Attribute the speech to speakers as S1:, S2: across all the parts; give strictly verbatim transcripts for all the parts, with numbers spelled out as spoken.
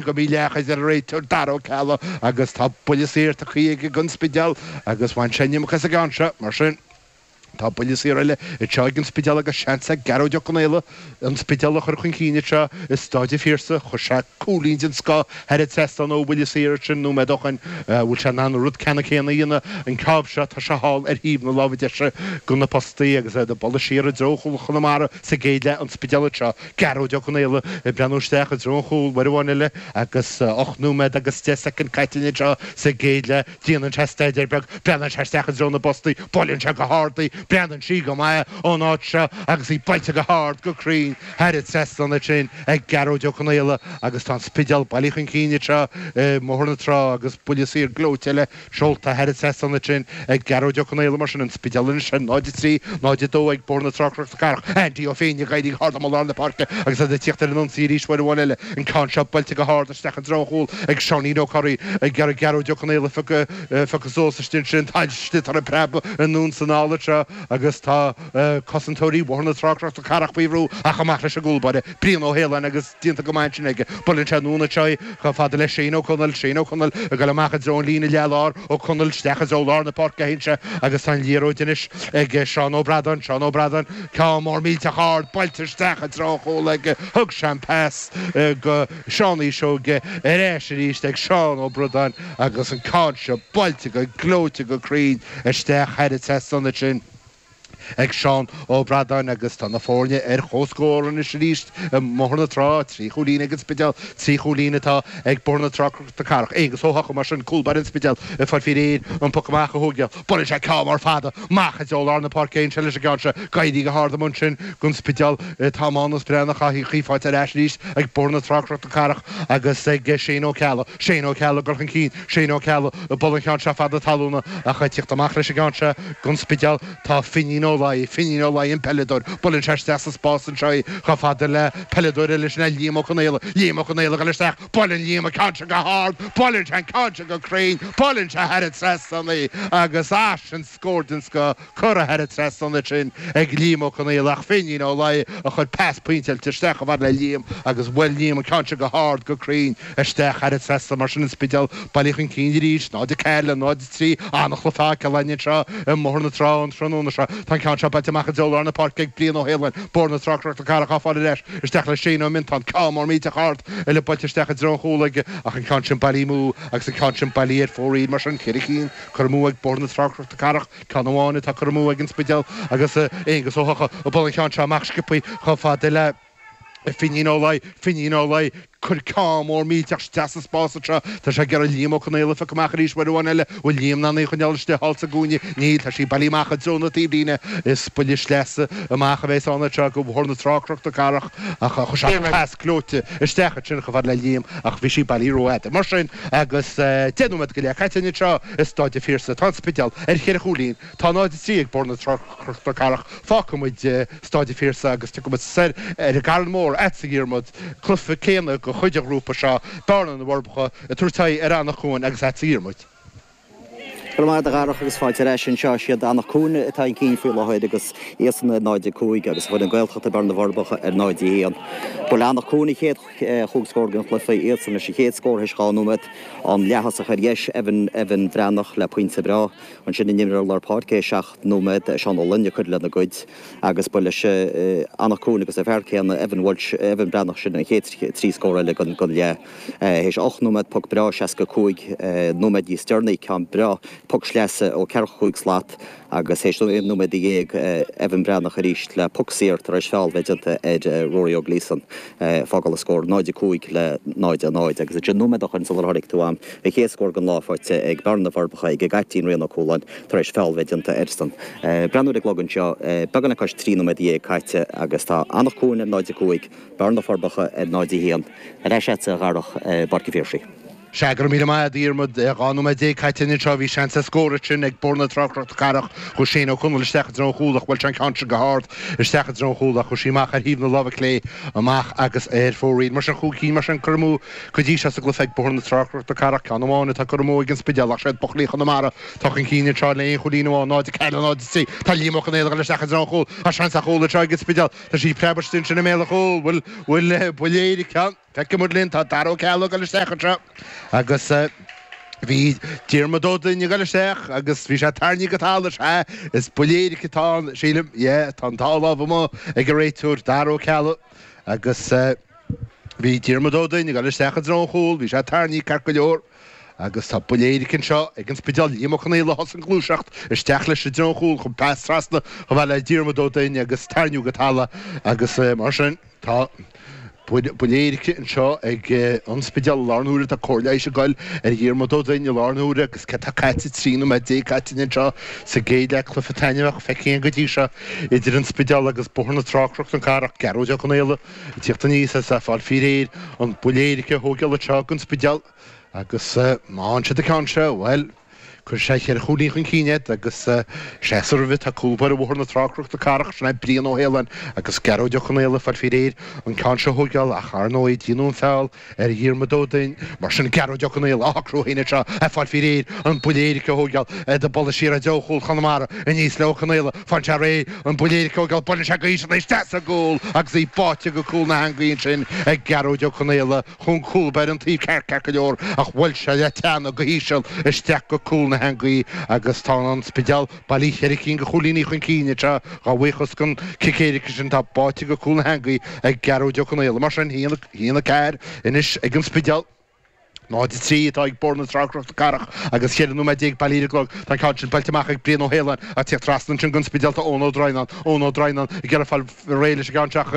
S1: Go míleachas ar an réiteoir Dara Ó Ceallaigh agus tá buille saor tugtha aige don Spidéal agus bhain sé an iomarca as an gceann seo, mar sin tá buille saor eile anseo ag an Spidéal agus seans ag Gearóid Ó Conaola an Spidéal a chur chun cinn anseo i Stáid an Phiarsaigh. Chuir sé cúilín den scoth thar an trasnán ó bhuille saor ansin nóiméad ó shin. Bhfuil sé in ann an rud ceannann céanna a dhéanamh an ceann seo? Tá sé thall ar thaobh na láimhe deise de na postaí agus iad ag bualadh siar i dtreo chúl Chonamara sa gcéad leath, an Spidéal anseo. Gearóid Ó Conaola ag breathnú isteach i dtreo an chúil uair amháin eile agus ocht nóiméad agus deich soicind caite anseo sa gcéad leath. Déanann sé staidéar beag, breathnaíonn sé isteach i dtreo na bpostaí, buaileann sé go hard í, breathnaíonn sí go maith ón áit seo agus í buailte go hard, go cruinn thar an trasnán ansin ag Gearóid Ó Conaola agus tá an Spidéal bailithe chun cinn anseo i mBóthar na Trá agus buille saor gleoite eile seolta thar an trasnán ansin ag Gearóid Ó Conaola. Mar sin, an Spidéal anois ar náid a trí, náid a dó ag Bóthar na Trá Cnoc na Cathrach. Andy Ó Féinne ag éirí go hard amuigh lár na páirce agus iad ag tíocht ar an ionsaí arís uair amháin eile. An ceann seo buailte go hard isteach i dtreo an chúil ag Seáinín Ó Corraí ag iarraidh Gearóid Ó Conaola a phiocadh suas istigh ansin. Tá sliotar ag preabadh anonn is anall anseo agus tá cosantóirí Bhóthar na Trá Cnoc na Cathrach faoi bhrú ach amach leis an gcúl báire, Brian Ó hAoláin agus déanta go maith ansin aige. Buaileann sé anonn anseo í chomh fada le Shane Ó Conaill. Shane Ó Conaill ag dul amach i dtreo an líne leath-lár. Ó Conaill isteach i dtreo lár na páirce a théann sé agus tá an liathróid anois ag Seán Ó Bradáin. Seán Ó Bradáin, ceann mór millteach ard buailte isteach i dtreo an chúil aige. Thug sé an pas go Seán Uí Seoige ar ais arís ag Seán Ó Bradáin agus an ceann seo buailte go gleoite go cruinn isteach thar an trasnán ansin. ag Seán Ó Bradáin agus tá na foirne ar comhscór anois arís i mBóthar na Trá, trí chúilín ag an Spidéal, trí chúilín atá ag Bóthar na Trá Cnoc na Cathrach. Aonghus Ó hEochaidh mar sin, cúl báire an Spidéil, ag fáil faoi réir an poc amach a thógáil. Buaileann sé ceann mór fada amach i dtreo lár na páirce anseo leis an gceann seo. Ag éirí go hard amuigh ansin don Spidéal tá Mánus Breathnach á í faighte ar ais arís ag Bóthar na Trá Cnoc na Cathrach agus ag Shane Ó Ceallaigh. Shane Ó Ceallaigh ag dul chun cinn, Shane Ó Ceallaigh ag bualadh an cheann seo fada talúna ach ag tíocht amach leis an gceann seo don Spidéal. Tá Finín Ó Laoi, Finín Ó Laoi an peileadóir, buaileann sé isteach sa spás anseo í chomh fada le peileadóir eile, sin é Liam Ó Conaola, Liam Ó Conaola ag dul isteach, buaileann Liam an ceann seo go hard, buaileann sé an ceann seo go cruinn, buaileann sé thar an trasnán í agus ah sin scór den scoth curtha thar an trasnán ansin ag Liam Ó Conaola ach Finín Ó Laoi a chuir pas pointeáilte isteach chomh fada le Liam agus bhuail Liam an ceann seo go hard go cruinn isteach thar an trasnán mar sin an Spidéal bailithe chun cinn arís, náid a ceathair le náid a trí, an-chluiche fágtha againn anseo i mBóthar na Trá an tráthnóna seo. Tá an ceann seo buailte amach i dtreo lár na páirce ag Brian Ó hAoláin, Bóthar na Trá Cnoc na Cathrach á fáil ar ais isteach le Shane Ó Miontáin. Ceann mór millteach ard eile buailte isteach i dtreo an chúil aige ach an ceann sin bailithe amú agus an ceann sin bailithe ar fóraoil mar sin. Ceithre cinn curtha amú ag Bóthar na Trá Cnoc na Cathrach, ceann amháin atá curtha amú ag an Spidéal agus Aonghus Ó hEochaidh ag bualadh an cheann seo amach sciobthaí chomh fada le Finín Ó Laoi, Finín Ó Laoi, cuir ceann mór millteach isteach sa spás anseo. Tá sé ag iarraidh Liam Ó Conaola a phiocadh amach arís uair amháin eile. Bhfuil Liam in ann í a choinneáil istigh thall sa gcúinne? Níl, tá sí bailithe amach i dtreo na taobhlíne. Is buille sleasa amach a bheas ann anseo do Bhóthar na Trá Cnoc na Cathrach ach chuir sé pas gleoite isteach ansin chomh fada le Liam ach bhí sí bailithe rófhada. Mar sin, agus deich nóiméad go leith caite anseo i Stáid an Phiarsaigh, tá an Spidéal ar cheithre chúilín. Tá náid a trí ag Bóthar na Trá Cnoc na Cathrach. Fágfaidh muid Stáid an Phiarsaigh agus tiocfaidh muid soir ar an gCarn Mór agatsa a Dhiarmuid, cluiche céanna de chuid an ghrúpa seo, Bearna na bhForbacha ag tabhairt aghaidh ar Anach Cuain agus agatsa a Dhiarmuid.
S2: Go raibh maith agat a Dharach agus fáilte ar ais anseo. Is iad Anach Cuain atá chun cinn faoi láthair agus iadsan ar náid a cúig agus foireann Gaeltachta Bearna na bhForbacha ar náid a haon. Ba le Anach Cuain an chéad chúig scór den chluiche, iadsan leis an chéad scór théis dhá nóiméad. An leath-thosach ar dheis, Evan Evan Bhreathnach le pointe breá. Ansin an imreoir lár páirce théis seacht nóiméad, Seán Ó Luing ag cur lena gcuid agus ba leis Anach Cuain agus an fear céanna, Evan Walsh, Evan Breathnach sin an chéad trí scór eile den leath. Théis ocht nóiméad, poc breá seasca cúig nóiméad níos deireanaí, ceann breá, poc sleasa ó ceathracha cúig slat agus théis aon nóiméad dhéag, Evan Breathnach arís le poc saor tar éis feall bheith déanta ar Rory Ó Gleeson, fágáil an scór náid a cúig le náid a náid agus ansin nóiméad ó shin sular tháinig tú agam, an chéad scór den lá faighte ag Bearna na bhForbacha ag an gcaiptín Rian Ó Cualáin tar éis feall bheith déanta airsean. Breathnú ar an gclog anseo, beagán le cois trí nóiméad dhéag caite agus tá Anach Cuain ar náid a cúig, Bearna na bhForbacha ar náid a haon. Ar ais agatsa a Dharach i bPáirc an Phiarsaigh.
S1: Sea, go raibh míle maith agat, a Dhiarmuid. Dhá nóiméad déag caite anseo, bhí seans ar scór ansin ag Bóthar na Trá Cnoc na Cathrach. Chuaigh Shane Ó Conaill isteach i dtreo an chúil ach bhuail sé an ceann sin go hard isteach i dtreo an chúil ach chuaigh sí amach ar thaobh na láimhe clé amach agus ar fóraoil. Mar sin, chúig cinn mar sin curtha amú go dtí seo sa gcluiche ag Bóthar na Trá Cnoc na Cathrach. Ceann amháin atá curtha amú ag an Spidéal ach séard buachaillí Chonamara atá chun cinn anseo le aon chúilín amháin, náid a ceathair le náid a trí. Tá Liam Ó Conaola ag dul isteach i dtreo an chúil. Tá seans ar chúl anseo ag an Spidéal. Tá sí ag preabadh istigh ansin i mbéal an chúil. Bhfuil, bhfuil buille éirice ann? Feicfidh muid linn, tá Dara Ó Ceallaigh ag dul isteach anseo agus bhí Diarmuid Ó Duinn ag dul isteach agus bhí sé tarraingthe go talamh, sea, is buille éirice atá ann, sílim, yeah, tá an dá lámh amuigh ag an réiteoir, Dara Ó Ceallaigh, agus bhí Diarmuid Ó Duinn ag dul isteach i dtreo an chúil, bhí sé tarraingthe ceart go leor. Agus tá buille éirice anseo ag an Spidéal, Liam Ó Conaola a thosaigh an ghluaiseacht isteach leis i dtreo an chúil chun pas trasna chomh fada le Diarmuid Ó Duinn agus tarraingíodh go talamh agus mar sin tá buille éirice anseo ag an Spidéal i láthair na huaire. Tá cóir leighis ag goil ar Dhiarmuid Ó Duinn i láthair na huaire agus céard tá caite, trí nóiméad déag caite anseo sa gcéad leath cluiche taitneamhach feicthe againn go dtí seo idir an Spidéal agus Bóthar na Trá Cnoc na Cathrach. Gearóid Ó Conaola ag tíocht aníos is é ag fáil faoi réir an buille éirice a thógáil anseo don Spidéal. Agus má fhaigheann siad an ceann seo, bhuel, cuirfidh sé cheithre chúilín chun cinn iad agus seasamh roimhe tá cúl báire Bhóthar na Trá Cnoc na Cathrach, sin é Brian Ó hAoláin agus Gearóid Ó Conaola ag fáil faoi réir an ceann seo a thógáil ach ar ndóigh déanadh an feall ar Dhiarmuid Ó Duinn. Mar sin Gearóid Ó Conaola á shocrú féin anseo ag fáil faoi réir an buille éirice a thógáil ag bualadh siar i dtreo chúl Chonamara aníos le Ó Conaola. Faigheann sé réidh an buille éirice a thógáil, buaileann sé go híseal é isteach sa gcúl agus í báite go cúl na heangaí ansin ag Gearóid Ó Conaola. Chun cúl báire an taobh ceart, ceart go leor, ach bhuail sé le teannas go híseal isteach go cúl na heangaí agus tá an Spidéal bailí cheithre cinn de chúilíní chun cinn anseo dá bhuíochas don chic éirice sin atá báite go cúl na heangaí ag Gearóid Ó Conaola. Mar sin, a haon a ceathair anois ag an Spidéal. náid a trí atá ag Bóthar na Trá Cnoc na Cathrach agus cheithre nóiméad déag bailí ar an gclog. Tá an ceann sin buailte amach ag Brian Ó hAoláin ach tíocht trasna ansin don Spidéal tá Eoin Ó Droighneáin. Eoin Ó Droighneáin ag iarraidh fáil réidh leis an gceann seo ach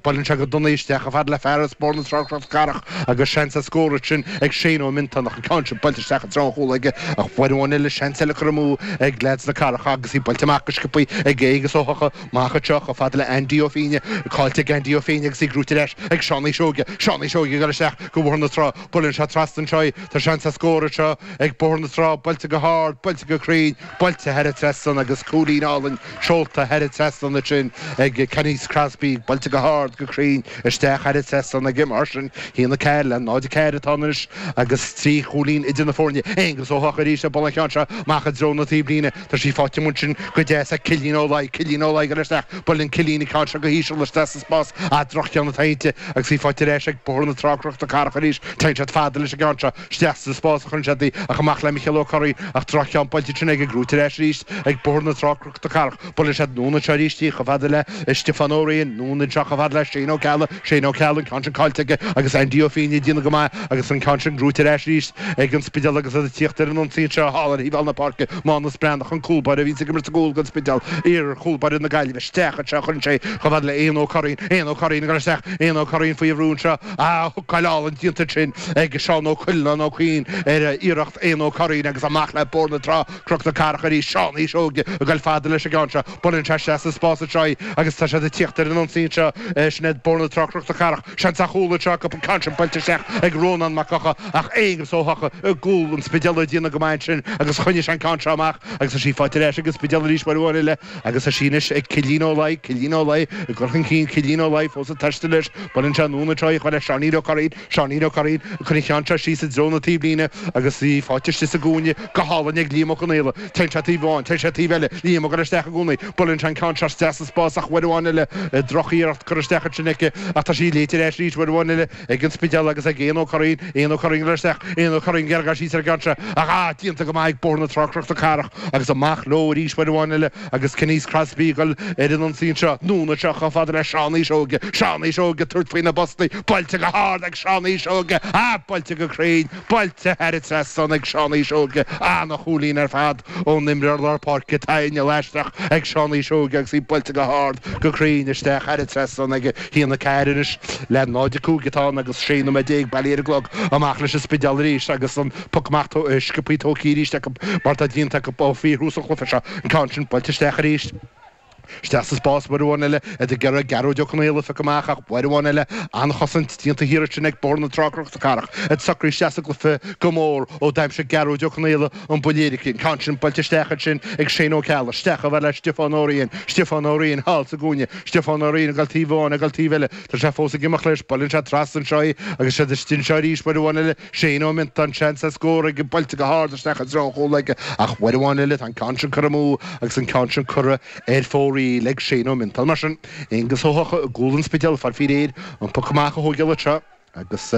S1: buaileann sé go dona isteach chomh fada le fear as Bóthar na Trá Cnoc na Cathrach agus seans ar scór ansin ag Shane Ó Miontáin ach an ceann sin buailte isteach i dtreo an chúil aige ach uair amháin eile seans eile curtha amú ag leaids na Cathrach agus í buailte amach go sciobthaí ag Aengus Ó hEochaidh amach anseo chomh fada le Andy Ó Fínne caillte ag Andy Ó Fínne agus í gnóite ar ais ag Seánie Seoige Seánie Seoige ag dul isteach go Bóthar na Trá buaileann sé trasna anseo í tá seans ar scór anseo ag Bóthar na Trá buailte go hard buailte go cruinn buailte thar an trasnán agus cúilín álainn seolta thar an trasnán ansin ag Canice Crosby, buailte go hard, go cruinn, isteach thar an trasnán aige mar sin. a haon a ceathair le náid a ceathair atá ann anois agus trí chúilín idir na foirne. Aengus Ó hEochaidh arís ag bualadh an cheann seo amach i dtreo na taobhlíne. Tá sí faighte amuigh ansin go deas ag Cillian Ó Laoi. Cillian Ó Laoi ag dul isteach. Buaileann Cillian an ceann seo go híseal isteach sa spás. Ah, droch-cheann atá inti agus í faighte ar ais ag Bóthar na Trá Cnoc na Cathrach arís. Téann siad fada leis an gceann seo. Isteach sa spás a chuireann siad í ach amach le Micheál Ó Curraoin ach droch-cheann buailte ansin aige gnóite ar ais arís ag Bóthar na Trá Cnoc na Cathrach. Buaileann siad anonn anseo arís í chomh fada le Stiofán Ó Riain, anonn anseo chomh fada le Shane Ó Ceallaigh, Shane Ó Ceallaigh, an ceann sin caillte aige agus Andy Ó Fínne ag déanamh go maith agus an ceann sin gnóite ar ais arís ag an Spidéal agus iad ag tíocht ar an ionsaí anseo thall ar thaobh thall na páirce, Mánus Breathnach, an cúl báire a bhíonns ag imirt sa gcúl don Spidéal, iar chúl báire na Gaillimhe, isteach anseo a chuireann sé chomh fada le Éanna Ó Curraoin, Éanna Ó Curraoin ag dul isteach, Éanna Ó Curraoin faoi bhrú anseo, ah, hookáil álainn déanta ansin ag Seán Ó Cuileanáin Ó Cuinn ar iarracht Éanna Ó Curraoin agus amach le Bóthar na Trá. Cnoc na Cathrach arís, Seánie Seoige ag goil fada leis an gceann seo. Buaileann sé isteach sa spás anseo í agus tá siad ag tíocht ar an ionsaí anseo. Sin iad Bóthar na Trá, Cnoc na Cathrach. Seans ar chúl anseo acu, an ceann sin buailte isteach ag Rónán Mac Eocha ach Aonghus Ó hEochaidh i gcúl an Spidéil ag déanamh go maith ansin agus choinnigh sé an ceann seo amach agus tá sí faighte ar ais ag an Spidéal arís uair amháin eile agus tá sí anois ag Cillín Ó Laoi, Cillín Ó Laoi ag dul chun cinn, Cillín Ó Laoi fós ag taisteal leis. Buaileann sé anonn anseo í chomh fada le Seáinín Ó Curraoin, Seáinín Ó Curraoin ag cur an cheann seo síos i dtreo na taobhlíne agus í faighte istigh sa gcúinne go hálainn ag Liam Ó Conaola. Téann sé taobh amháin, téann sé taobh eile, Liam ag dul isteach i gcónaí. Buaileann sé an ceann seo isteach sa spás ach uair amháin eile, drochiarracht curtha isteach ansin aici ach tá sí léite ar ais arís uair amháin eile ag an Spidéal agus ag Éanna Ó Curraoin, Éanna Ó Curraoin ag dul isteach, Éanna Ó Curraoin ag iarraidh síos ar an gceann seo ach ah, déanta go maith ag Bóthar na Trá Cnoc na Cathrach agus amach leo arís uair amháin eile agus Canice Crosby ag dul ar an ionsaí anseo. Anonn anseo chomh fada le Seánie Seoige, Seánie Seoige ag tabhairt faoi na postaí, buailte go hard ag Seánie Seoige, ah, buailte go cruinn, buailte thar an trasnán ag Seánie Seoige, ana-chúilín ar fad ón imreoir lár páirce, tá inneall aisteach ag Seánie Seoige agus í buailte go hard, go cruinn isteach thar an trasnán aige. A haon a ceathair anois le náid a cúig atá ann agus sé nóiméad déag bailí ar an gclog. Amach leis an Spidéal arís agus an poc amach sciobthaí tógtha arís acu mar atá déanta acu ó fíorthús an chluiche seo. An ceann sin buailte isteach arís. Isteach sa spás uair amháin eile, iad ag iarraidh Gearóid Ó Conaola a phiocadh amach ach uair amháin eile an-chosaint déanta thiar ansin ag Bóthar na Trá Cnoc na Cathrach. Iad socraithe isteach sa gcluiche go mór ó d'aimsigh Gearóid Ó Conaola an buille éirice. An ceann sin buailte isteach ansin ag Shane Ó Ceallaigh. Isteach chomh fada le Stiofán Ó Riain. Stiofán Ó Riain thall sa gcúinne. Stiofán Ó Riain ag dul taobh amháin, ag dul taobh eile. Tá sé fós ag imeacht leis. Buaileann sé trasna anseo í agus siad istigh anseo arís uair amháin eile. Shane Ó Miontáin, seans ar scór aige, buailte go hard isteach i dtreo an chúil aige ach uair amháin eile tá an ceann sin curtha amú agus an ceann sin curtha ar fóraoil ag Shane Ó Miontáin. Mar sin, Aonghus Ó hEochaidh i gcúl an Spidéil ag fáil faoi réir an poc amach a thógáil anseo. Agus